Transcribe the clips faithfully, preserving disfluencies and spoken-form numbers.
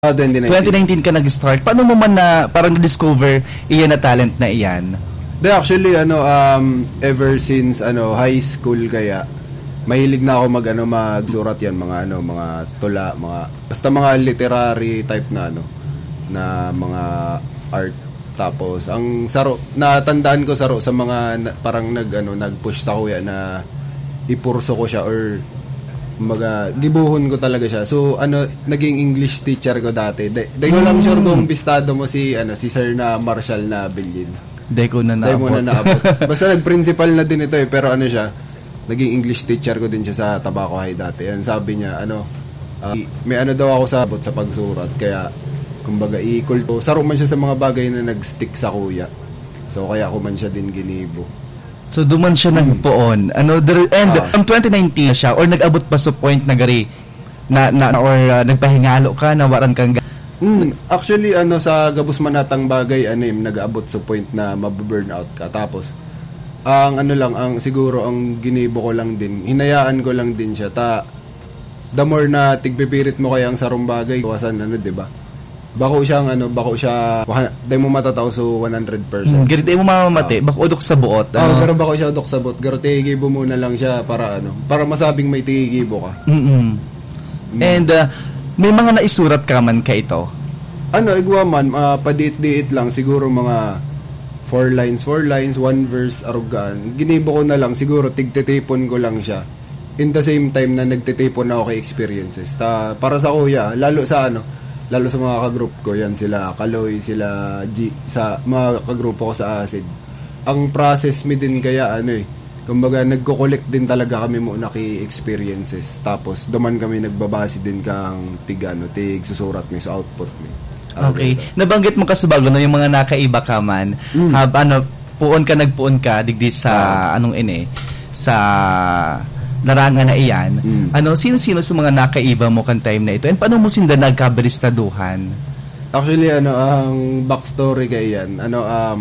Ah, twenty nineteen. Twenty nineteen ka nag-start. Paano mo man na parang na-discover iyan na talent na iyan? Di, actually, ano, um, ever since, ano, high school kaya, mahilig na ako mag, ano, magsurat yan, mga, ano, mga tula, mga, basta mga literary type na, ano, na mga art. Tapos, ang saro, natandaan ko saro sa mga na, parang nag, ano, nag-push sa kuya na ipurso ko siya or, kumbaga, gibuhon ko talaga siya. So, ano, naging English teacher ko dati. Di, di ko lang sure kung bistado mo si, ano, si Sir na Marshall na Bilin. Di ko na Di mo na naabot. naabot. Basta nag-principal na din ito eh, pero ano siya, naging English teacher ko din siya sa Tabaco High dati. Yan, sabi niya, ano, ah, may ano daw ako sa abot sa pagsurat, kaya, kumbaga, i-call ko. Saro man siya sa mga bagay na nag-stick sa kuya. So, kaya ako man siya din ginibo. So, duman siya Hmm. nagpoon. Ano, there, and Ah. from twenty nineteen na siya, or nag-abot pa sa point na gari, na, na, or, ah, nagpahingalo ka, nawaran kang ga- Hmm, actually, ano, sa gabos man natang bagay, ano, eh, nag-abot sa point na mabu-burnout ka. Tapos, ang ano lang, ang siguro, ang ginibo ko lang din, hinayaan ko lang din siya. Ta, the more na tigpipirit mo kaya ang sarong bagay, kawasan, ano, di ba? Bako siyang, ano, bako siya, waha-, di mo matataw so one hundred percent. Hmm, gari, di mo mamamati, Ah. bako udok sa buot, Oh, ano? Pero bako siya udok sa buot. Pero tigibo mo na lang siya para, ano, para masabing may tigibo ka. Mm-mm. Mm. And, ah, may mga naisurat ka man ka ito? Ano, igwa man, ah, padiit-diit lang, siguro mga four lines, four lines, one verse, arugaan. Ginibo ko na lang, siguro tigtitipon ko lang siya. In the same time na nagtitipon ako kay experiences. Ta, para sa kuya, lalo sa ano, lalo sa mga ka-group ko, yan sila Kaloy, sila G, sa mga kagrupo ko sa Acid. Ang process mi din kaya, ano eh, kumbaga, nagko-collect din talaga kami muna kay experiences. Tapos, duman kami nagbabase din kang tig, ano, tig susurat mi sa output mi. Okay. Nabanggit mo kasubago, no, yung mga nakaiba ka man. Mm. Hab-, ano, puon ka, nagpuon ka, digdi sa, Ah. anong ini, sa larangan na iyan. Mm. Ano, sino-sino sa mga nakaiba mo kan time na ito? And paano mo sinda nagkabaristaduhan? Actually, ano, ang backstory kay yan, ano, um,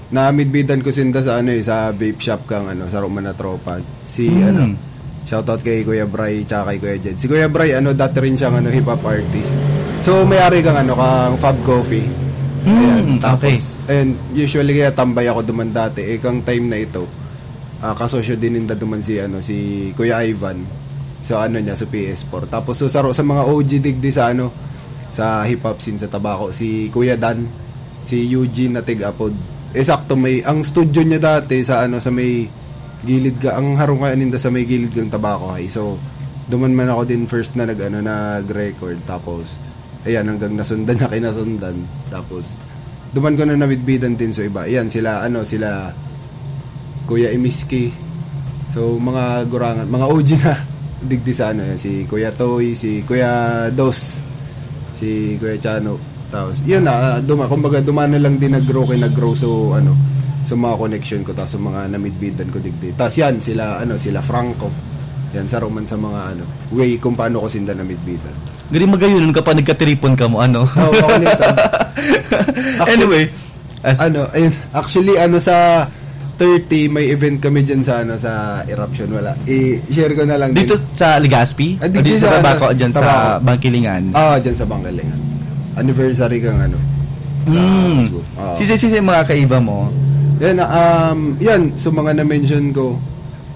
namidbidan ko sinda sa, ano eh, sa vape shop kang, ano, sa Roma na tropa. Si, Hmm. ano, shoutout kay Kuya Bry tsaka kay Kuya Jed. Si Kuya Bry, ano, dati rin siyang, ano, hip-hop artist. So, may-ari kang, ano, kang Fab Coffee. Hmm, Ayan, tapos, okay. and usually kaya tambay ako duman dati. Eh, kang time na ito, ah, kasosyo din ninda duman si, ano, si Kuya Ivan. So, ano niya, sa P S four. Tapos, so, saro sa mga O G digdi sa, ano, sa hip-hop scene sa Tabaco, si Kuya Dan, si Eugene na tig-apod. Eh, sakto, may, ang studio niya dati sa, ano, sa may gilid ka, ang harong kaya ninda sa may gilid kang Tabaco High. So, duman man ako din first na nag, ano, nag-record. Tapos, ayan, hanggang nasundan na kinasundan. Tapos, duman ko na namidbidan din sa iba. Ayan, sila, ano, sila Kuya Imiski. So, mga gurangan, mga O G na. Digdi sa, ano, yan, si Kuya Toy, si Kuya Dos, si Kuya Chano. Tapos, yun na, ah, duma-, kumbaga, duman na lang din nag-grow kay nag-grow. So, ano, sa mga connection ko, tapos sa mga namidbidan ko digdi. Tapos yan, sila, ano, sila Franco. Yan, sa roman sa mga, ano, way kung paano ko sinda namidbidan. Gari magayon ka pa, nagkatiripon ka mo, ano? Oo, ako nito. Anyway, as- Ano, ayun, actually, ano, sa thirty, may event kami dyan sa, ano, sa Eruption, wala. I-share ko na lang Dito din. sa Legazpi? Ah, O di dito sa sa, Tabaco, ano, dyan sa Tabaco. Bangkilingan? Ah, dyan sa Bangkilingan. Anniversary kang, ano, Mm. Tabaco. Oo. Sisi-sisi mga kaiba mo? Yan, um, yan, so mga na-mention ko,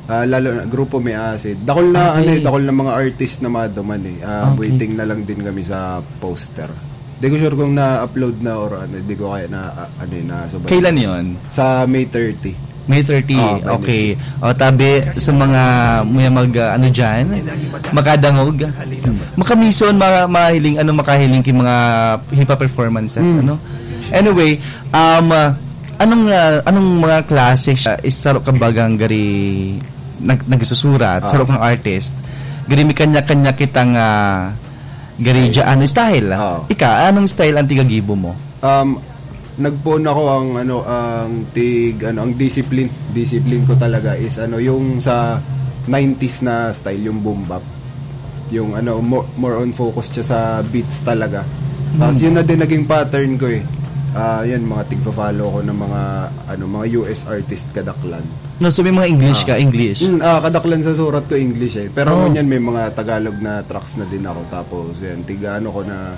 ah, lalo na, grupo may acid. Dakol na, Okay. ano eh, dakol na mga artist na maduman eh. Ah, Okay. waiting na lang din kami sa poster. Di ko sure kung na-upload na or ano, di ko kaya na, ah, ano yun, na sobrang Kailan yun? Sa May thirty. May thirty, Ah, by okay. next week. O, tabi, sa mga muya mag, ah, ano dyan, makadangog. Makamison, ma-, mahiling, ano, makahiling ki mga hip-hop performances, Hmm. ano? Anyway, um, ah, anong, ah, anong mga klase siya, is saro ka bagang gari nag-, nagsusurat, Ah. saro kang artist, gari may kanya-kanya kitang, ah, gari Style. dyan, ano, style. Oo. Ika, anong style ang tigagibo mo? Um, nagpoon ako ang, ano, ang tig-, ano, ang discipline. Discipline ko talaga is, ano, yung sa nineties na style, yung boom bap. Yung, ano, mo-, more on focus siya sa beats talaga. Tapos Hmm. yun na din naging pattern ko eh. Ah, yan, mga tigpa-follow ko ng mga, ano, mga U S artist kadaklan. No, so may mga English ka, Ah. English. Mm, ah, kadaklan sa surat ko English eh. Pero Oh. ngunyan may mga Tagalog na tracks na din ako. Tapos yan, tiga ano ko na